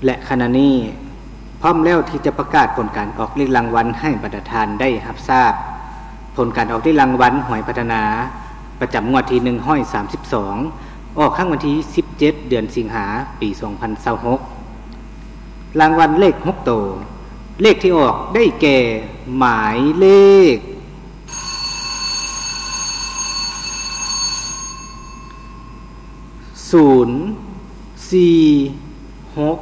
ແລະ ຂະນະນີ້ພ້ອມແລ້ວທີ່ຈະປະກາດຜົນການອອກເລກລາງວັນໃຫ້ບັນດາທ່ານໄດ້ຮັບຊາບ. ຜົນການອອກເລກລາງວັນຫວຍພັດທະນາ ປະຈຳງວດທີໜຶ່ງຮ້ອຍສາມສິບສອງ ອອກຄັ້ງວັນທີສິບເຈັດ ເດືອນສິງຫາ ປີສອງພັນຊາວຫົກ. ລາງວັນເລກຫົກໂຕ, ເລກທີ່ອອກໄດ້ແກ່ ໝາຍເລກ ສູນ ສີ່ ຫົກ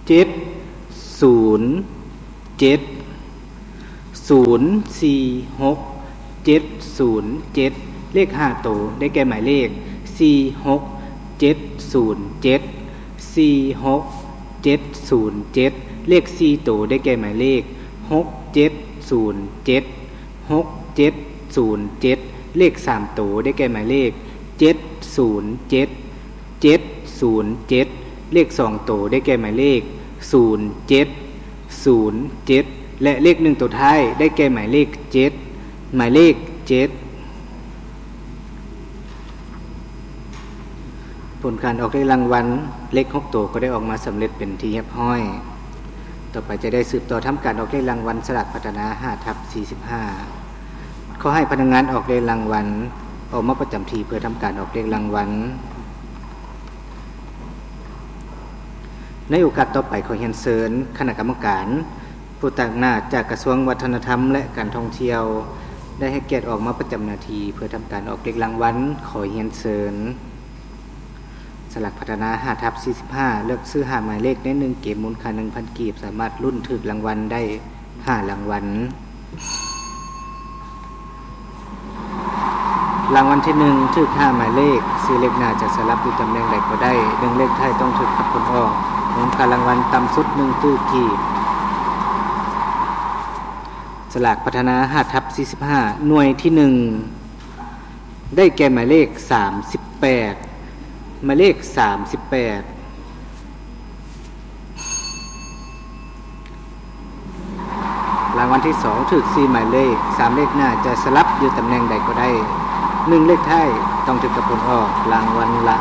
ເຈັດ ສູນ ເຈັດ ສູນ ສີ່ ຫົກ ເຈັດ ສູນ ເຈັດ. ເລກຫ້າໂຕໄດ້ແກ່ໝາຍເລກ ສີ່ ຫົກ ເຈັດ ສູນ ເຈັດ ສີ່ ຫົກ ເຈັດ ສູນ ເຈັດ. ເລກສີ່ໂຕໄດ້ແກ່ໝາຍເລກ ຫົກ ເຈັດ ສູນ ເຈັດ ຫົກ ເຈັດ ສູນ ເຈັດ. ເລກສາມໂຕໄດ້ແກ່ໝາຍເລກ ເຈັດ ສູນ ເຈັດ ເຈັດ ສູນ ເຈັດ. ເລກສອງໂຕໄດ້ແກ່ໝາຍເລກ ສູນ ເຈັດ ສູນ ເຈັດ ແລະ ເລກໜຶ່ງໂຕທ້າຍໄດ້ແກ່ໝາຍເລກ ເຈັດ ໝາຍເລກ ເຈັດ. ຜົນການອອກເລກລາງວັນເລກຫົກໂຕກໍໄດ້ອອກມາສຳເລັດເປັນທີ່ຮຽບຮ້ອຍ. ຕໍ່ໄປຈະໄດ້ສືບຕໍ່ທຳການອອກເລກລາງວັນສະຫຼາກພັດທະນາ ຫ້າທັບສີ່ສິບຫ້າ. ຂໍໃຫ້ພະນັກງານອອກເລກລາງວັນອອກມາປະຈຳທີ່ເພື່ອທຳການອອກເລກລາງວັນ. ໃນໂອກາດຕໍ່ໄປ ຂໍຮຽນເຊີນຄະນະກຳມະການ ຜູ້ຕາງໜ້າຈາກກະຊວງວັດທະນະທຳ ແລະ ການທ່ອງທ່ຽວ ໄດ້ໃຫ້ກຽດອອກມາປະຈຳໜ້າທີ່ເພື່ອທຳການອອກເລກລາງວັນ. ຂໍຮຽນເຊີນ. ສະຫຼາກພັດທະນາ ຫ້າທັບສີ່ສິບຫ້າ ເລືອກຊື້ຫ້າໝາຍເລກໃນໜຶ່ງເກມ ມູນຄ່າໜຶ່ງພັນກີບ ສາມາດລຸ້ນຖືກລາງວັນໄດ້ຫ້າລາງວັນ. ລາງວັນທີໜຶ່ງ ຖືກຫ້າໝາຍເລກ, ສີ່ເລກໜ້າຈະສະຫຼັບຢູ່ຕຳແໜ່ງໃດກໍໄດ້, ໜຶ່ງເລກທ້າຍຕ້ອງຖືກກັບຜົນອອກ. ມູນຄ່າລາງວັນຕ່ຳສຸດໜຶ່ງຕື້ກີບ. ສະຫຼາກພັດທະນາ ຫ້າທັບສີ່ສິບຫ້າ ໜ່ວຍທີໜຶ່ງ ໄດ້ແກ່ໝາຍເລກສາມສິບແປດ, ໝາຍເລກສາມສິບແປດ. ລາງວັນທີສອງ ຖືກສີ່ໝາຍເລກ, ສາມເລກໜ້າຈະສະຫຼັບຢູ່ຕຳແໜ່ງໃດກໍໄດ້, ໜຶ່ງເລກທ້າຍຕ້ອງຖືກກັບຜົນອອກ, ລາງວັນລະ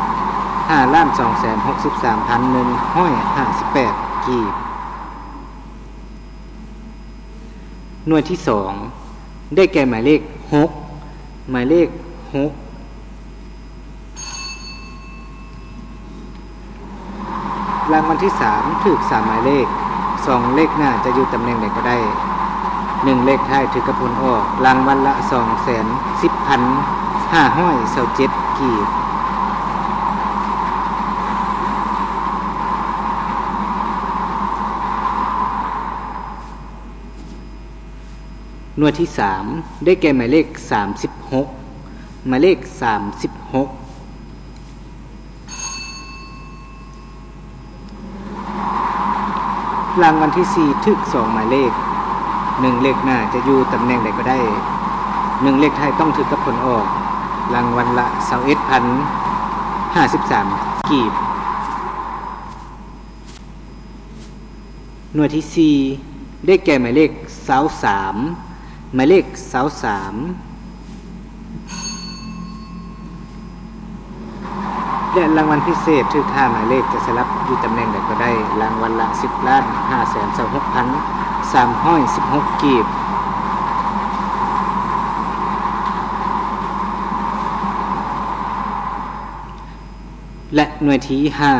ຫ້າລ້ານສອງແສນຫົກສິບສາມພັນໜຶ່ງຮ້ອຍຫ້າສິບແປດກີບ. ໜ່ວຍທີສອງ ໄດ້ແກ່ໝາຍເລກຫົກ, ໝາຍເລກຫົກ. ລາງວັນທີສາມ ຖືກສາມໝາຍເລກ, ສອງເລກໜ້າຈະຢູ່ຕຳແໜ່ງໃດກໍໄດ້, ໜຶ່ງເລກທ້າຍຖືກກັບຜົນອອກ, ລາງວັນລະສອງແສນສິບພັນຫ້າຮ້ອຍຊາວເຈັດກີບ. ໜ່ວຍທີສາມ ໄດ້ແກ່ໝາຍເລກສາມສິບຫົກ, ໝາຍເລກສາມສິບຫົກ. ລາງວັນທີສີ່ ຖືກສອງໝາຍເລກ, ໜຶ່ງເລກໜ້າຈະຢູ່ຕຳແໜ່ງໃດກໍໄດ້, ໜຶ່ງເລກທ້າຍຕ້ອງຖືກກັບຜົນອອກ, ລາງວັນລະຊາວເອັດພັນຫ້າສິບສາມກີບ. ໜ່ວຍທີສີ່ ໄດ້ແກ່ໝາຍເລກຊາວສາມ, ໝາຍເລກຊາວສາມ. ແລະ ລາງວັນພິເສດ ຖືກຫ້າໝາຍເລກ ຈະສະຫຼັບຢູ່ຕຳແໜ່ງໃດກໍໄດ້, ລາງວັນລະສິບລ້ານຫ້າແສນຊາວຫົກພັນສາມຮ້ອຍສິບຫົກກີບ. ແລະ ໜ່ວຍທີຫ້າ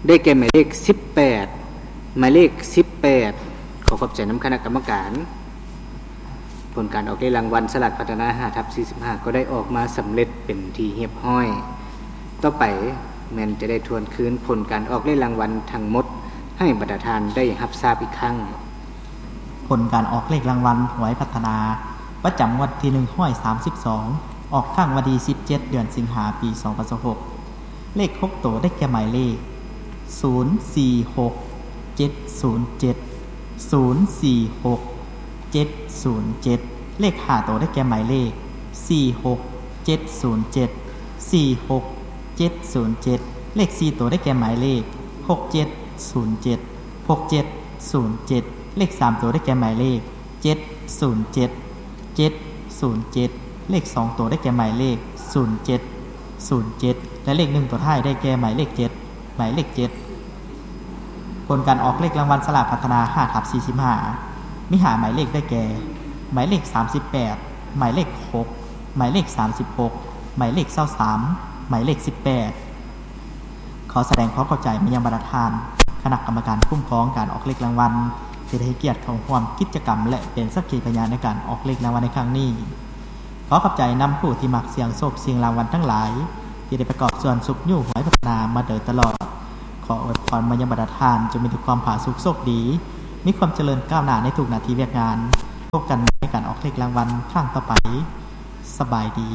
ໄດ້ແກ່ໝາຍເລກສິບແປດ, ໝາຍເລກສິບແປດ. ຂໍຂອບໃຈນຳຄະນະກຳມະການ. ຜົນການອອກເລກລາງວັນສະຫຼາກພັດທະນາ ຫ້າທັບສີ່ສິບຫ້າ ກໍໄດ້ອອກມາສຳເລັດເປັນທີ່ຮຽບຮ້ອຍ. ຕໍ່ໄປແມ່ນຈະໄດ້ທວນຄືນຜົນການອອກເລກລາງວັນທັງໝົດ ໃຫ້ບັນດາທ່ານໄດ້ຮັບຊາບອີກຄັ້ງ. ຜົນການອອກເລກລາງວັນຫວຍພັດທະນາ ປະຈຳງວດທີໜຶ່ງຮ້ອຍສາມສິບສອງ ອອກຄັ້ງວັນທີສິບເຈັດ ເດືອນສິງຫາ ປີສອງພັນຊາວຫົກ. ເລກຫົກໂຕໄດ້ແກ່ໝາຍເລກ ສູນສີ່ຫົກເຈັດສູນເຈັດ, ສູນສີ່ຫົກເຈັດສູນເຈັດ. ເລກຫ້າໂຕໄດ້ແກ່ໝາຍເລກ ສີ່ຫົກເຈັດສູນເຈັດ, ສີ່ຫົກເຈັດສູນເຈັດ. ເລກສີ່ໂຕໄດ້ແກ່ໝາຍເລກ ຫົກເຈັດສູນເຈັດ, ຫົກເຈັດສູນເຈັດ. ເລກສາມໂຕໄດ້ແກ່ໝາຍເລກ ເຈັດສູນເຈັດ, ເຈັດສູນເຈັດ. ເລກສອງໂຕໄດ້ແກ່ໝາຍເລກ ສູນເຈັດສູນເຈັດ ແລະ ເລກໜຶ່ງໂຕທ້າຍໄດ້ແກ່ໝາຍເລກ ເຈັດ ໝາຍເລກເຈັດ ຜົນການອອກເລກລາງວັນສະຫຼາກພັດທະນາ ຫ້າທັບສີ່ສິບຫ້າ ມີຫ້າໝາຍເລກໄດ້ແກ່ ໝາຍເລກສາມສິບແປດ ໝາຍເລກຫົກ ໝາຍເລກສາມສິບຫົກ ໝາຍເລກຊາວສາມ ໝາຍເລກສິບແປດ. ຂໍສະແດງຄວາມຂອບໃຈມາຍັງບັນດາທ່ານຄະນະກຳມະການຄຸ້ມຄອງການອອກເລກລາງວັນ ທີ່ໄດ້ໃຫ້ກຽດເຂົ້າຮ່ວມກິດຈະກຳ ແລະ ເປັນສັກຂີພະຍານໃນການອອກເລກລາງວັນໃນຄັ້ງນີ້. ຂໍຂອບໃຈນຳຜູ້ທີ່ມັກສ່ຽງໂຊກສ່ຽງລາງວັນທັງຫຼາຍ ທີ່ໄດ້ປະກອບສ່ວນຊຸກຍູ້ຫວຍພັດທະນາມາໂດຍຕະຫຼອດ. ຂໍອວຍພອນມາຍັງບັນດາທ່ານ ຈົ່ງມີແຕ່ຄວາມຜາສຸກໂຊກດີ, ມີຄວາມຈະເລີນກ້າວໜ້າໃນທຸກໜ້າທີ່ວຽກງານ. ພົບກັນໃນການອອກເລກລາງວັນຄັ້ງຕໍ່ໄປ. ສະບາຍດີ.